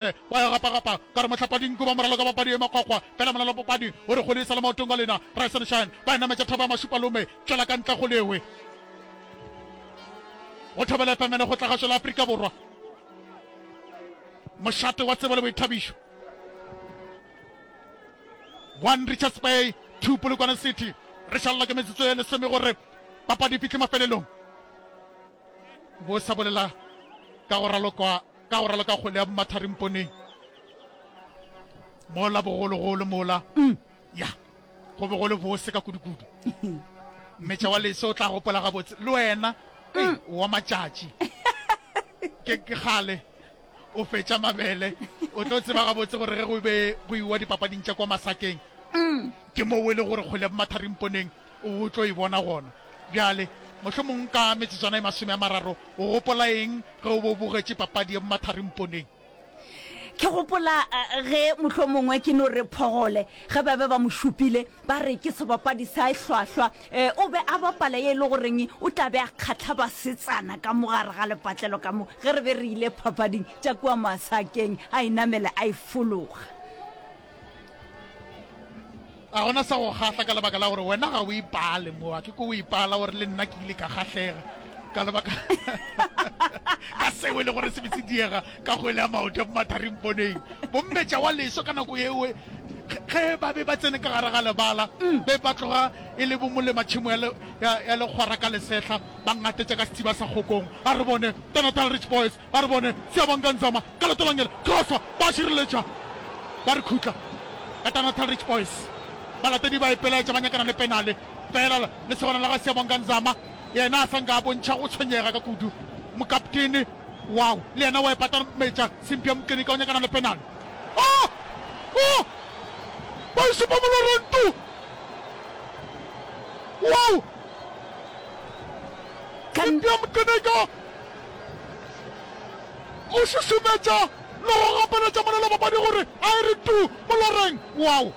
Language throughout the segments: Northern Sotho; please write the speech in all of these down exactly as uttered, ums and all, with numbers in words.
Ba ya gapagapa ka re mohlapa-dinku ba moraloka papadi e makgwakgwa. Fela molalo papadi o re kgwele e sa le maotong a lena. Rise and Shine ba e nametša thaba ya Mašupalome. Tšwela ka ntle kgole ewe. Go Thobela F M le Kgotlagašo la Afrika Borwa. Mošate wa tsebo le boithabišo. One Richards Bay, two Polokwane City. Re šalela ke metsotso e lesome gore papadi e fihle mafelelong. Bo sa bolela ka go ralokwa ka go raloka kgwele ya bomatharimponeng mola bogologolo mola mm. ya go be go le bose ka kudukudu mmetša wa leso o tla gopola gabotse le wena mm. wa matšatši ke ke kgale o fetša mabele o tlo tseba gabotse gore ge go be go iwa dipapading tša kwa masakeng mm. ke moo e le gore kgwele ya bomatharimponeng O tlo e bona gona bjale, mohlomong ka metsotswana e masome a mararo. O gopola eng ge o be o bogetše papadi ya bomatharimponeng? Ke gopola ge mohlomongwe ke no re Phogole, ge ba be ba mo šupile ba re ke sebapadi sa hlwahlwa, o be a bapala ye e le goreng o tla be a kgahla basetsana ka mo gare ga lepatlelo ka mo ge re be re ile papading tša kua masakeng, a e namela a e fologa. Ga gona sa go kgahla ka lebaka la gore wena ga o ipale mo. A ke ko o ipala gore le nna ke ile ka kgahlega ka lebaka ka seo e le gore se be se diega ka kgwele ya maoto ya bomatharimponeng. Bommetša wa leso ka nako yeo ge ba be ba tsene ka gare ga lebala mm. be ba tloga e le bomolema tšhemo ya, ya, ya lekgwara ka lesehla ba ngatetša ka sethiba sa kgokong. A re bone Natal Rich Boys Ba re bone Siyabonga Nzama ka leoto la ngele, crossa, ba šireletša, ba re khutla ka Tanatal Rich Boys. Balatedi ba ipelaetša ba nyakana le penale, fela lesogana la ga Siyabonga Nzama yena a sa nka a bontšha go tshwenyega ka kudu. Mokaptene wow le yena wa ipatametša Simphiwe Mqineka o nyakana le penale. Oh! Oh! Ba e šupa moloreng tu! Wow! Simphiwe Mqineka! O šušumetša le go gapeletša molelobapadi gore a e re tuu moloreng. Wow!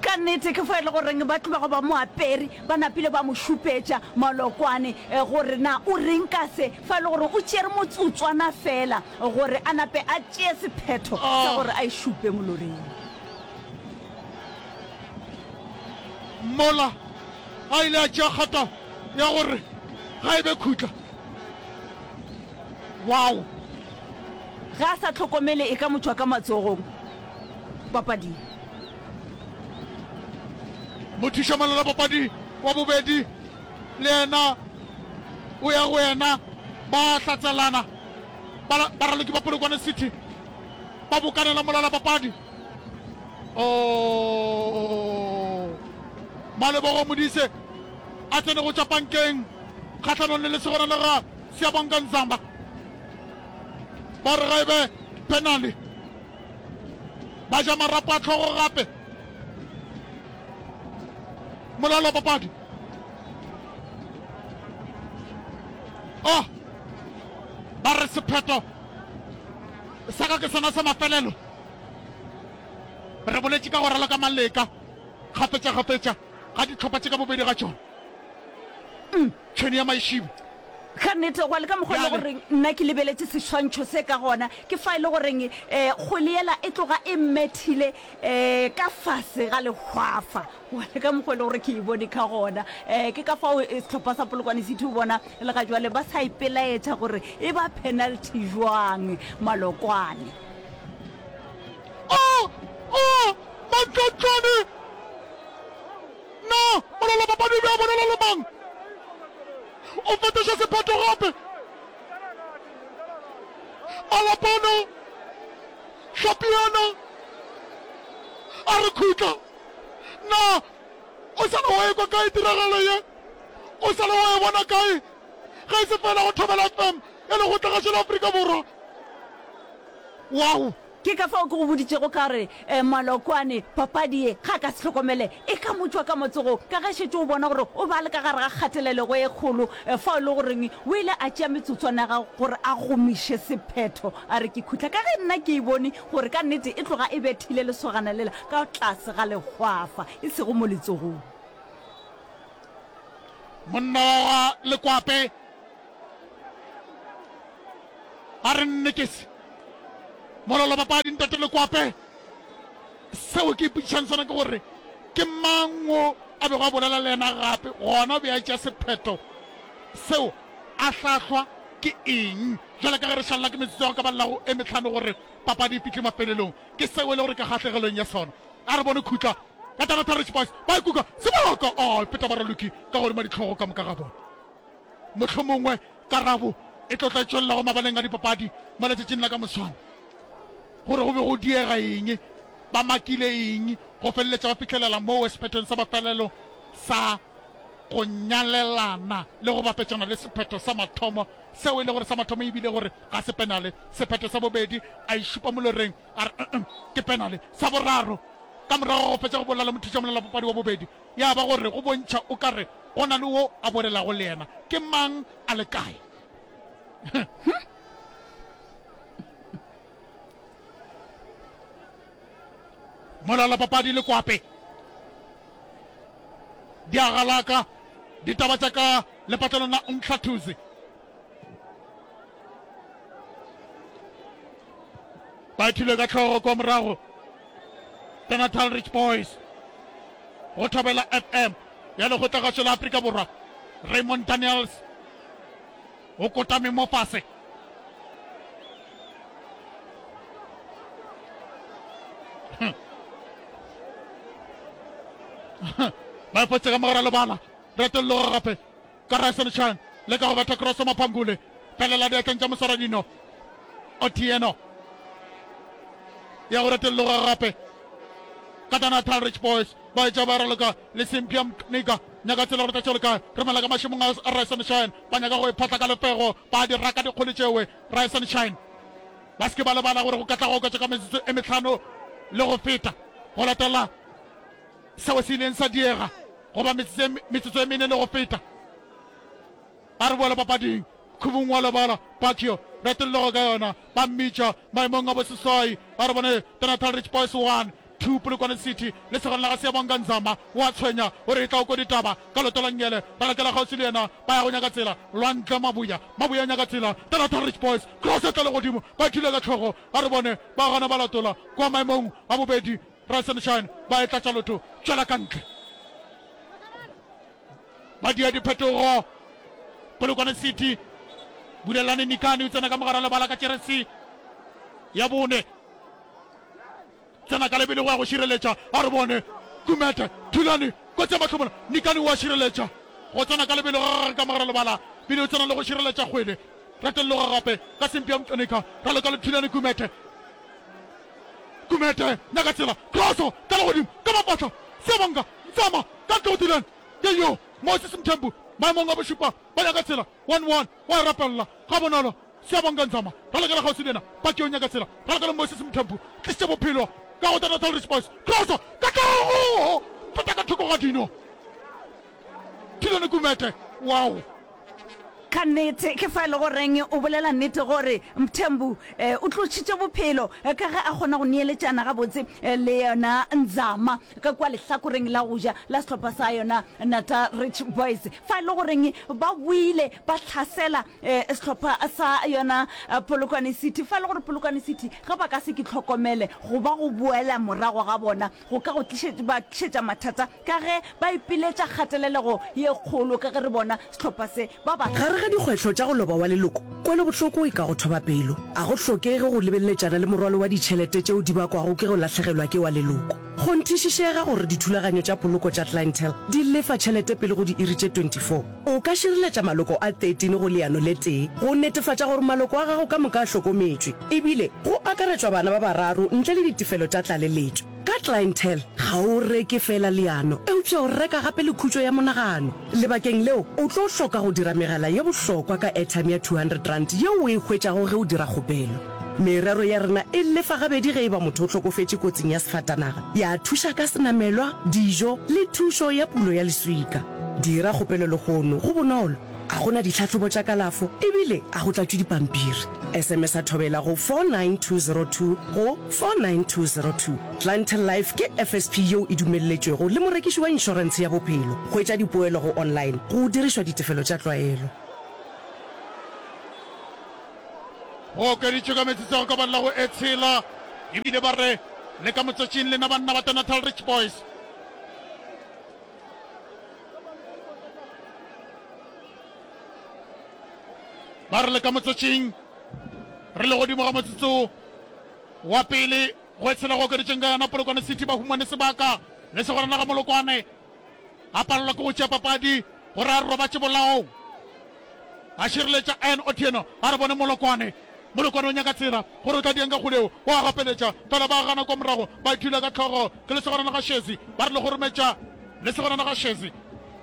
Ka nnete ke fa e le goreng ba tloga ba mo apere, ba napile ba mo šupetša malokwane gore na o reng ka se, fa e le gore o tšere motsotswana feela gore a nape a tšee sephetho sa gore a e šupe moloreng. Mola a ile a tšea kgato ya gore ga e be khutla. Wow! Ge a sa hlokomele e ka mo tšwa ka matsogong papading. Mothušamalala papadi wa bobedi le yena o ya go yena, ba hlatselana. Baraloki ba Polokwane City ba bokanela molala papadi. Oh! Malebogo Modise a tsene go tšwa pankeng kgahlanong le lesogana la ga Siyabonga Nzamba. Ba re ga e be penale. Ba ja marapo a tlhogo gape. Molalo wa papadi. Oh! Ba re sephetho sa ka ke sona sa mafelelo. Re boletše ka go raloka maleka kgafetšakgafetša ga dihlopha tše ka bobedi ga tšona. Tšhwene ya maišibo. Ka nnete, gwa le ka mokgwa e le goreng nna ke lebeletše seswantšho se ka gona, ke fa e le goreng um kgwele yela e tloga e mmethile um ka fase ga lehwafa. Gwa le ka mokgwa e le gore ke e bone ka gona. Um ke ka fao sehlopha sa Polokwane City o bona le ga jwale ba sa ipelaetša gore e ba penalty jwang Malokwane. Oh! Oh! Mantlotlwane! Na molala-papadi o be a bolela le mang? O fetoša sephetho gape. Malapana, Hlapiana, a re khutla. Na o sa le wa ekwa kae tiragalo ye? O sa le wa e bona kae? Ge e se fela go Thobela F M ya Lekgotlagašo la Afrika Borwa. Wow! Ke ka fao ke go boditšego ka re, Malokwane, papadi ye, ge a ka se hlokomele, e ka mo tšwa ka matsogong, ka ge šetše o bona gore o be a le ka gare ga kgatelelego e kgolo, fao e le goreng o ile a tšea metsotswana ya gagwe gore a gomiše sephetho, a re ke khutla, ka ge nna ke e bone gore ka nnete e tloga e bethile lesogana lela ka tlase ga lehwafa, e sego mo letsogong. Monna wa ga Lekwape a re nnekese. Molala papadi Ntate Lekwape, seo ke ipotšišang sona ke gore ke mang wo a bego a bolela le yena gape, gona o be a tšea sephetho seo a hlahlwa ke eng? Bjale ka ge re šalela ke metsotso ya go ka balelago e mehlano gore papadi e fihle mafelelong, ke seo e le gore ke kgahlegelong ya sona. A re bone khutla ka Tanatha Rich Boys ba ikuka sebaka, a feta baraloki ka godimo dihlogo ka moka ga bona. Mohlomongwe karabo e tlo tla e tšwelela go mabaleng a dipapadi mo letšatšing la ka moswane, gore go be go diega eng, ba makile eng go feleletša ba fihlelela moo sephethong sa mafelelo sa go nyalelana le go bapetšana le sephetho sa mathomo seo e le gore sa mathomo e bile gore ga se penale, sephetho sa bobedi a e šupa moloreng a re uh-uh, ke penale, sa boraro ka morago ga go fetša go bolela le mothušamolelapapadi wa bobedi ya ba gore go bontšha o ka re go na le wo a bolelago le yena, ke mang a le kae? Molalapapadi le Kwape di a galaka ditaba tša ka lepatlelong la Umhlathuze. Ba ithile ka hlogo kwa morago the Natal Rich Boys go Thobela F M ya Lekgotlagašo la Afrika Borwa. Raymond Daniels o kotame mo fase. Ba fotse ka mogara lebala, retolloga gape ka Ryson Chan le ka go betha cross Maphangule felela diatleng tša moswaradino Otieno ya go retolloga gape ka tana Natal Rich Boys ba etša ba raloka le Simpia Mnika nyaka tsela gore tlatšo le kae romela ka mašemong a Ryson Shine ba nyaka go e phatla ka lefego ba di raka dikgole tšewe Ryson Shine ba se ke ba lebala gore go ka tla go oketša ka metsotso e mehlano le go feta go latela seo se ileng sa diega goba metsotso e mene le go feta. A re boela papading, Khubung wa lebala, Pacquiao, retollogo ka yona, ba mmitša maemong a boseswai. A re bone The Natal Rich Boys one, two Polokwane City. Lesogana la ga Siyabonga Nzama o a tshwenya, o re e tla o ko ditaba ka loto la nngele. Ba lakela kgauswi le yena, ba ya go nyaka tsela. Lwandle Mabuya, Mabuya nyaka tsela. The Natal Rich Boys, cross e tla legodimo, ba thula ka hlogo. A re bone ba gana ba latola kwa maemong a bobedi. Rise and Shine ba e tlatša lotho, tšwela ka ntle. Ba dia diphetogo. Polokwane City, Bulelani Nikani o tsena ka mogara lebala ka jeresi ya bone. Tsena ka lebelo go ya go šireletša. A re bone Kumete, Thulani, kotsi ya mahlomola. Nikani o a šireletša. Go tsena ka lebelo ga gagwe ka mogara lebala. Bile o tsena le go šireletša kgwele. Retelloga gape ka Sempia Mtlonika. Raloka le Thulani Kumete. Kumete, nyaka tsela, kroso ka legodimo ka mafahla. Siyabonga Ntsama ka ntle go Thulani. Ke yo Moses Mthembu maemong a bošupa ba nyaka tsela. One one wa e rapelela gabonolo. Siyabonga Nzama ralokela kgauswi le yena. Paki o nyaka tsela, ralokela Moses Mthembu. Tlišitše bophelo ka go The Natal Rich Boys. Kroso ka tlogo feta ka thoko ga dino. Thulani Kumete, wow! Ka nnete, ke fa e le goreng o bolela nnete gore Mthembu o tlošitše bophelo ka ge a kgona go neeletšana gabotse le yona Nzama ka kua lehlakoreng la go ja la sehlopha sa yona Natal Rich Boys. Fa e le goreng ba boile ba hlasela sehlopha sa yona Polokwane City. Fa e le gore Polokwane City ge ba ka se ke hlokomele go ba go boela morago ga bona go ka go ba tlišetša mathata ka ge ba ipiletša kgatelelego ye kgolo ka ge re bona sehlopha se ba ba Gare ga dikgwetlho tša go loba wa leloko, kwelobohloko e ka go thoba pelo. A go hlokege go lebeletšana le morwalo wa ditšhelete tšeo di bakwago ke go lahlegelwa ke wa leloko. Kgonthišišega gore dithulaganyo tša poloko tša Clientele di lefa tšhelete pele go diiri tše twenty four O ka šireletša maloko a thirteen go leano le tee go netefatša gore maloko a gago ka moka a hlokometšwe, ebile go akaretšwa bana ba bararo ntle le ditefelo tša tlaleletšo. Ka Clientele, ga o reke feela leano, eupša o reka gape le khutšo ya monagano. Lebakeng leo, o tlo hloka go dira megala ye bohlokwa ka airtime ya two hundred rand yeo o e hwetšago ge o dira kgopelo. Merero ya rena e lefa gabedi ge e ba motho o hlokofetše kotsing ya sefatanaga, ya thuša ka senamelwa, dijo le thušo ya pulo ya leswika. Dira kgopelo lehono, go bonolo, a go na ditlhahlobo tša kalafo ebile a go tlatšwe dipampiri. S M S a thobela go four nine two zero two go four nine two zero two. Clientele Life ke F S P yeo e dumelletšwego le morekiši wa inšorentshe ya bophelo. Hwetša dipoelo go online go dirišwa ditefelo tša tlwaelo. Go okeditšwe ka metsotso ya go ka balela go e tshela, ebile ba re le ka motsotšing lena banna ba Natal Rich Boys. Ba re le ka motsotšing re le godimo ga motsotso wa pele go e tshela go okeditšeng ka yona Polokwane City ba humane sebaka le segorana ga Molokwane a palelwa ke go tšea papadi gore a robatše bolaong a šireletša N Otieno a re bone Molokwane Molokwane o nyaka tsela gore o tla dieng ka kgoleo o a gapeletša fela ba gana kwa morago ba ithula ka tlhogo ke lesogana la ga Shezi ba re le gorometša lesogana la ga Shezi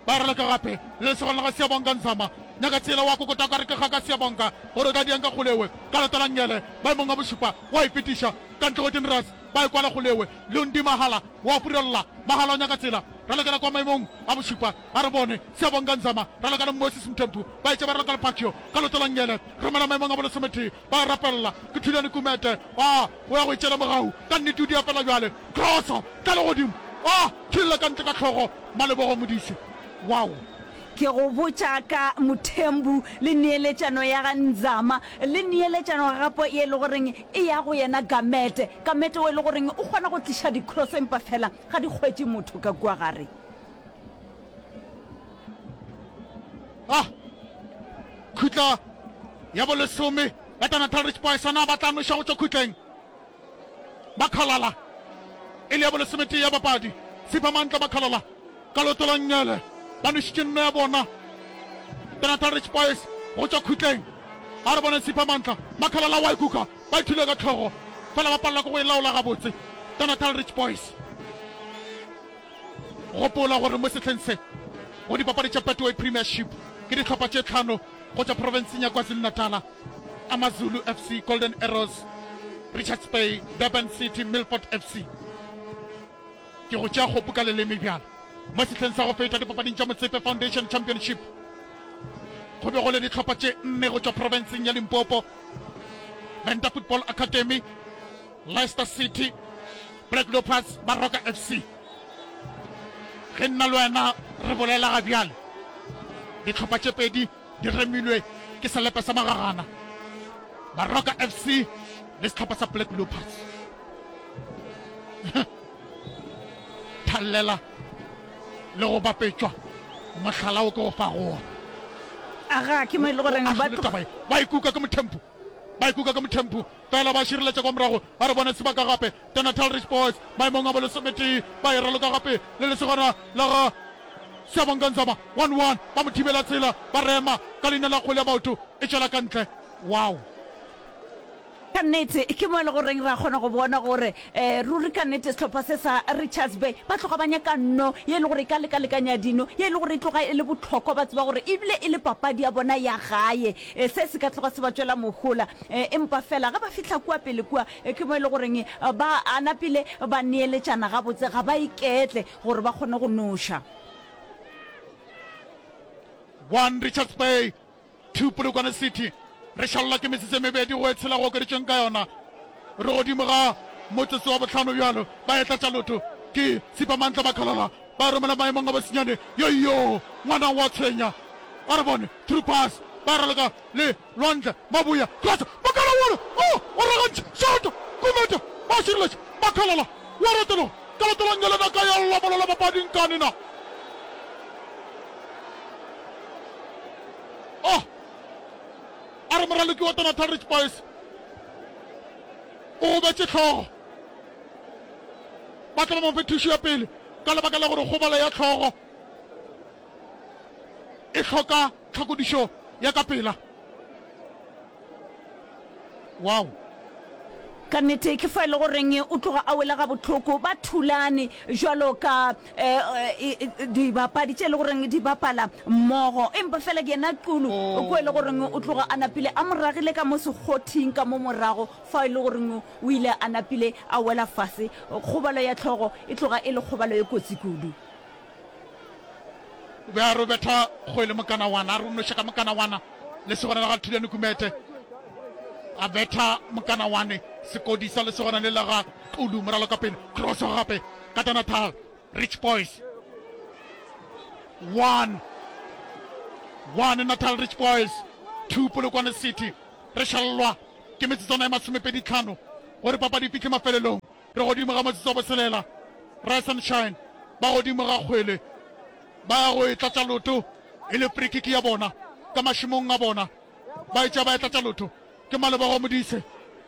ba raloka gape le lesogana la ga Siyabonga Nzama nyaka tsela wa kokota ka re ke ga ka Siyabonga gore o tla dieng ka kgolewe ka lota la ngele maemong a bošupa wa e fetiša ka ntle go Dinras ba e kwala kgolewe Lundi Mahala wa furella Mahala o nyaka tsela ralokela kwa maemong a bošupa a re bone Siyabonga Nzama raloka le Moses Mthembu ba etše ba raloka le Pacquiao ka loto la ngele romela maemong a bolesometee ba rapella ke Thulani Kumete a o ya go itšela mogau ka nnete o di apela bjale crosso tla le godimo a thullela ka ntle ka hlogo Malebogo Modise wow. Ke go botša ka Mthembu le neeletšano ya ga Nzama le neeletšano gape ye e le goreng e ya go yena Gamete. Gamete o e le goreng o kgona go tliša di-cross empa fela ga di hwetše motho ka kua gare. Ah! Khutla ya bolesome ya Natal Rich Boys na ba tla noša go tšwa khutleng. Makhalala e le ya bolesometee ya papadi. Siphamandla Makhalala ka leoto la nngele ba nošitše nno ya bona. Natal Rich Boys go tšwa khutleng. A re bone Siphamandla Makhalala wa ikuka ba ithule ka tlhogo fela ba palelwa ke go e laola gabotse. Natal Rich Boys. Gopola gore mo sehleng se go dipapadi tša Betway Premiership ke dihlopha tše tlhano go tšwa profenseng ya KwaZulu-Natal, AmaZulu F C, Golden Arrows, Richards Bay, Durban City, Milford F C. Ke go tšea kgopu ka leleme bjalo. Mo sehleng sa go feta dipapading tša Motsepe Foundation Championship go be go le dihlopha tše nne go tšwa profenseng ya Limpopo, Venda Football Academy, Leicester City, Black Leopards, Baroka F C. Ge nna le wena re bolela ga bjale, dihlopha tše pedi di remilwe ke selepe sa magagana, Baroka F C le sehlopha sa Black Leopards. Thallela le go bapetšwa mohlala wo ke go fago wona. Aga ke mo e le goreng ba taba ye ba ikuka ke mothempu, ba ikuka ke mothempu fela ba šireletša kwa morago. Ba re bone sebaka gape The Natal Rich Boys maemong a bolesometee ba e raloka gape le lesogana la ga Siyabonga Nzama one one ba mo thibela tsela ba rema ka leina la kgwele ya maoto e tšwela ka ntle. Wow! Ka nnete ke mo e le goreng ra kgona go bona gore ruri ka nnete sehlopha se sa Richards Bay ba tloga ba nyaka nno ye e le gore e ka lekalekanya dino, ye e le gore e tloga e le bohlokwa, ba tseba gore ebile e le papadi ya bona ya gae. Se se ka tloga se ba tšwela mohola. Empa fela ge ba fihla kua pele kua ke mo e le goreng ba a napile ba neeletšana gabotse, ga ba iketle gore ba kgone go noša. One Richards Bay, two Polokwane City. Re šalelwa ke metsotso e mebedi go e tshela go okeditšweng ka yona. Re godimo ga motsotso wa bohlano bjalo. Ba etla tša lotho ke Sipamantla Makhalala. Ba romela maemong a bosenyane. Yoyo, ngwana wa tshwenya. A re bone through pass. Ba raloka le Lwandle Mabuya. Cross. Makhala wona. Oh, o ragantše. Shot. Kumete. Ba šireletša. Makhalala wa retologa. Ka leoto la nngele na ka ya lla mola la papadi nkane na. Oh. A re moraloki wa Natal Rich Boys o gobetše hlogo. Ba tla ba mo fe thušo ya pele ka lebaka la gore kgobalo ya hlogo e hloka tlhakodišo ya ka pela. Wow! Ka nnete ke fa e le goreng o tloga a wela gabohloko. Ba thulane bjalo ka dibapadi tše e le goreng di bapala mmogo. Empa fela ke yena Xulu ko e le goreng o tloga a napile a mo ragile ka mo sekgothing ka mo morago fa e le goreng o ile a napile a wela fase. Kgobalo ya hlogo e tloga e le kgobalo e kotsi kudu. O be a re o betha kgwele mokanawana, a re o noša ka mokanawana lesogana la ga Thulani Kumete. A betha mokanawane sekodi sa lesogana le la ga Xulu moralo ka pele. Cross gape ka Natal Rich Boys. One. One Natal Rich Boys. Two Polokwane City. Re šalelwa Ke metsotswana e masomepedi tlhano gore papadi e fihle mafelelong. Re godimo ga motsotso wa boselela. Rise and Shine ba godimo ga kgwele, ba ya go e tlatša loto e le free kick ya bona ka mašemong a bona. Ba e tšea ba e tlatša loto. Ke Malebogo Modise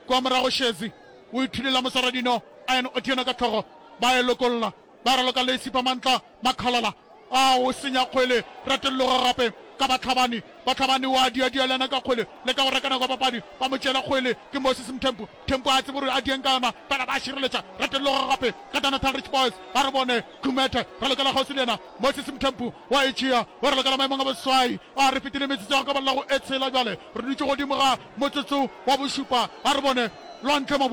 kua morago, Shezi o ithulela moswaradino Ian Otieno ka hlogo, ba e lokolla. Ba raloka le Siphamantla Makhalala a o senya kgwele, ratelloga gape ka Bahlabani. Bahlabani wa diadia le yena ka kgwele, leka go reka nako ya papadi, ba mo tšeela kgwele ke Moses Mthembu. Mthembu a tsebe gore a dieng ka yona, fela ba šireletša. Ratelloga gape ka Danatal Rich Boys, ba re bone Khumete, ralokela kgauswi le yena Moses Mthembu wa e tšea, wa ralokela maemong a boseswai. A re fetile metsotso ya go ka balela go e tshela bjale, re dutše godimo ga motsotso wa bošupa. A re bone Lwantle Mabu.